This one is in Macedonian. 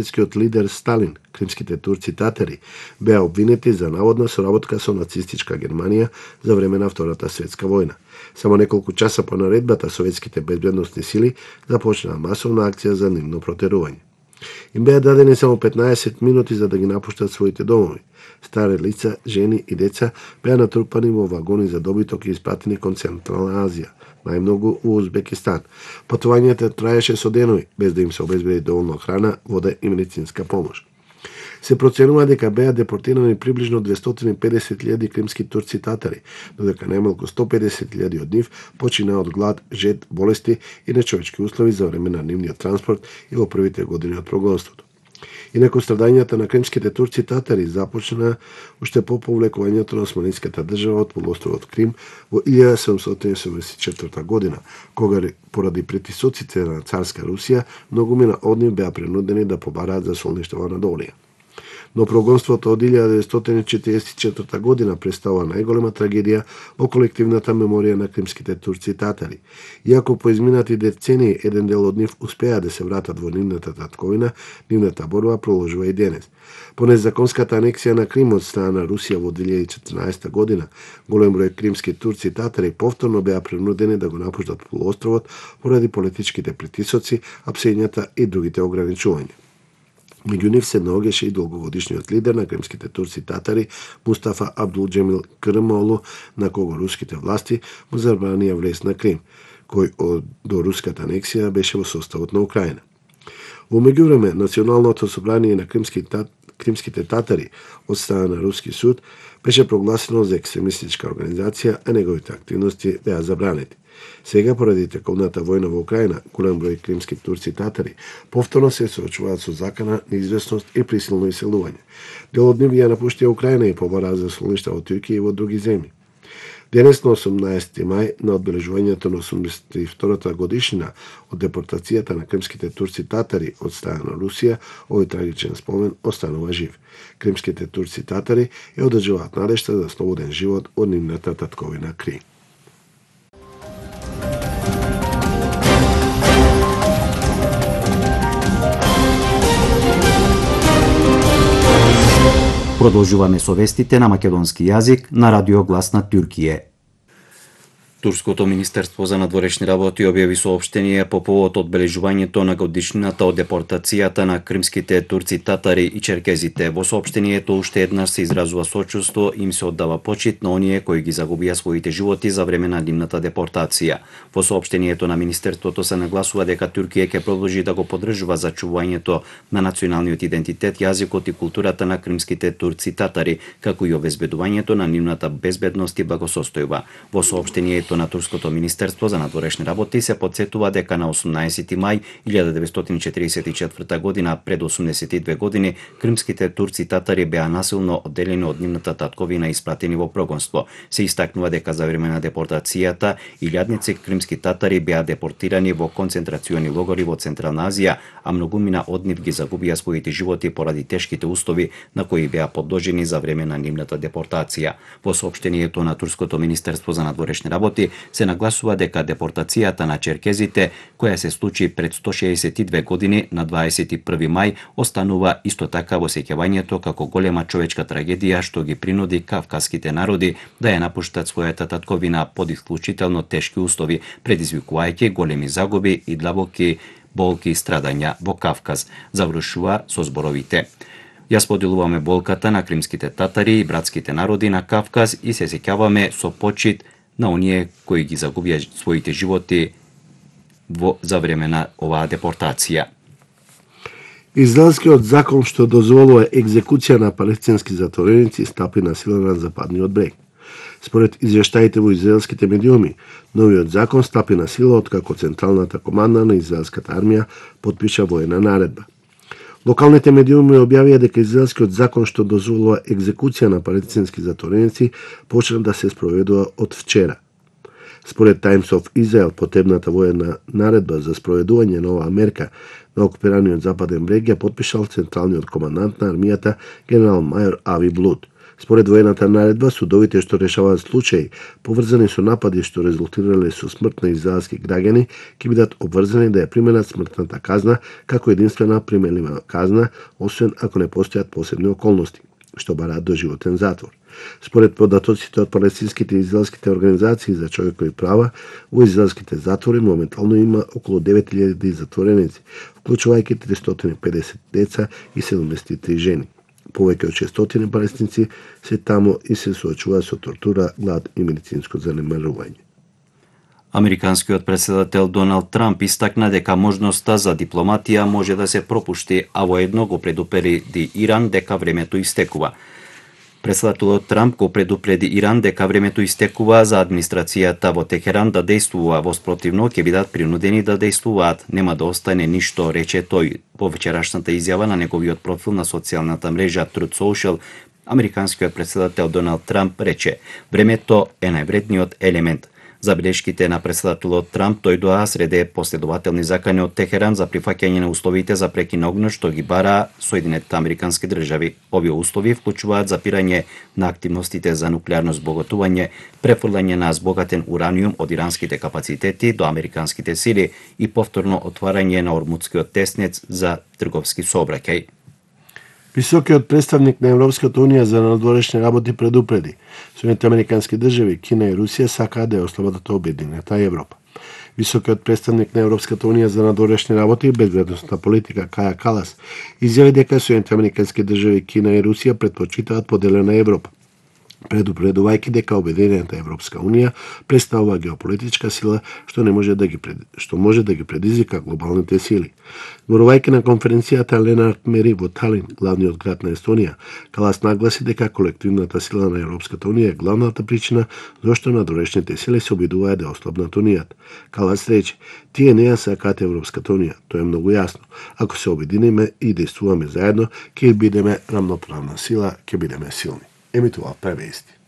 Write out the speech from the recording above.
Советскиот лидер Сталин, кримските турци татари, беа обвинети за наводна соработка со нацистичка Германија за време на Втората светска војна. Само неколку часа по наредбата, советските безбедносни сили започнаа масовна акција за нивно протерување. Им беа дадени само 15 минути за да ги напуштат своите домови. Стари лица, жени и деца беа натрупани во вагони за добиток и испратени кон Централна Азија, најмногу во Узбекистан. Патувањето траеше со денови, без да им се обезбеди доволно храна, вода и медицинска помош. Се проценува дека беа депортирани приближно 250.000 кримски турци татари, додека најмалку 150.000 од нив починаа од глад, жед, болести и нечовечки услови за време на нивниот транспорт и во првите години од прогонството. Инаку страдањата на кримските турци татари започна уште по повлекувањето на османската држава од полуостровот Крим во 1774 година, кога поради притисоците на царска Русија, многумина од нив беа принудени да побараат за солништва на Долија. Но прогонството од 1944 година представува најголема трагедија во колективната меморија на кримските турци татари. Иако по изминати децении еден дел од нив успеа да се вратат во нивната татковина, нивната борба продолжува и денес. По незаконската анексија на Крим од страна на Русија во 2014 година, голем број кримски турци татари повторно беа принудени да го напуштат полуостровот поради политичките притисоци, апсењата и другите ограничувања. Меѓу нив се наоѓаше и долгогодишниот лидер на кримските турци татари Мустафа Абдулџемил Кърмолу, на кого руските власти му забранија влез на Крим, кој до руската анексија беше во составот на Украина. Во меѓувреме, Националното собрание на кримските татари од страна на руски суд беше прогласено за екстремистичка организација, а неговите активности беа забранети. Сега, поради тековната војна во Украина, голем број кримски турци татари повторно се соочуваат со закана, неизвестност и присилно иселување. Дел од нив ја напуштија Украина и побараа за солништа во Туркија и во други земји. Денес, на 18 мај, на одбележувањето на 82-та годишнина од депортацијата на кримските турци татари од страна на Русија, овој трагичен спомен останува жив. Кримските турци татари ја одржуваат надежта за слободен живот од нивната татковина Крим. Продолжуваме со вестите на македонски јазик на Радио Глас на Туркија. Турското министерство за надворешни работи објави соопштение по повод одбележувањето на годишнината од депортацијата на кримските турци татари и черкезите. Во соопштението уште еднаш се изразува сочувство и им се оддава почит на оние кои ги загубија своите животи за време на нивната депортација. Во соопштението на министерството се нагласува дека Туркија ќе продолжи да го поддржува зачувањето на националниот идентитет, јазикот и културата на кримските турци татари, како и обезбедувањето на нивната безбедност и благосостојба. Во соопштението на Турското министерство за надворешни работи се потсетува дека на 18 мај 1944 година, пред 82 години, кримските турци татари беа насилно одделени од нивната татковина и испратени во прогонство. Се истакнува дека за време на депортацијата илјадници кримски татари беа депортирани во концентрациони логори во Централна Азија, а многумина од нив ги загубија своите животи поради тешките услови на кои беа подложени за време на нивната депортација. Во соопштението на Турското министерство за надворешни работи се нагласува дека депортацијата на черкезите, која се случи пред 162 години на 21 мај, останува исто така во сеќавањето како голема човечка трагедија што ги принуди кавказските народи да ја напуштат својата татковина под исклучително тешки услови, предизвикувајќи големи загуби и длабоки болки и страдања во Кавказ. Завршува со зборовите: Ја споделуваме болката на кримските татари и братските народи на Кавказ и се сеќаваме со почит на оние кои ги загубија своите животи за време на оваа депортација. Израелскиот закон што дозволува екзекуција на палестински затвореници стапи на сила на западниот брег. Според извештаите во израелските медиуми, новиот закон стапи на сила откако Централната команда на израелската армија подпиша воена наредба. Локалните медиуми објавија дека израелскиот закон што дозволува екзекуција на палестински затвореници почна да се спроведува од вчера. Според Times of Israel, потребната воена наредба за спроведување на оваа мерка на окупираниот западен брег ја подпишал централниот командант на армијата генерал мајор Ави Блуд. Според воената наредба, судовите што решаваат случаи поврзани со напади што резултирале со смрт на израелски граѓани ќе бидат обврзани да ја применат смртната казна како единствена применлива казна, освен ако не постојат посебни околности што бараат доживотен затвор. Според податоците од палестинските и израелските организации за човекови права, во израелските затвори моментално има околу 9000 затвореници, вклучувајќи 350 деца и 73 жени. Повеќе од 600 палестинци се таму и се соочуваат со тортура, глад и медицинско занемарување. Американскиот претседател Доналд Трамп истакна дека можноста за дипломатија може да се пропушти, а воедно го предупреди Иран дека времето истекува. Претседателот Трамп го предупреди Иран дека времето истекува за администрацијата во Техеран да действува, во спротивно ќе бидат принудени да действуваат. Нема да остане ништо, рече тој. Во вечерашната изјава на неговиот профил на социјалната мрежа Truth Social, американскиот претседател Доналд Трамп рече: времето е највредниот елемент. Забелешките на претседателот Трамп дојдоа среде последователни закани од Техеран за прифаќање на условите за прекин на огнот што ги бара Соединетите американски држави. Овие услови вклучуваат запирање на активностите за нуклеарно збогатување, префрлање на збогатен ураниум од иранските капацитети до американските сили и повторно отварање на Ормудскиот теснец за трговски сообраќај. Високиот представник на Европската унија за надворешни работи предупреди: Соединетите американски држави, Кина и Русија сакаат да ја ослабодат обединета Европа. Високиот представник на Европската унија за надворешни работи и безбедносна политика Каја Калас изјави дека Соединетите американски држави, Кина и Русија претпочитаат поделена Европа, предупредувајќи дека обединената Европска унија представува геополитичка сила што може да ги предизвика глобалните сили. Зборувајќи на конференцијата Ленард Мери во Талин, главниот град на Естонија, Калас нагласи дека колективната сила на Европската унија е главната причина зашто надворешните сили се обидуваат да ослабнат унијата. Калас рече: тие не ја сакаат Европската унија, тоа е многу јасно. Ако се обединиме и действуваме заедно, ќе бидеме рамноправна сила, ќе бидеме силни. Емитуваа превести.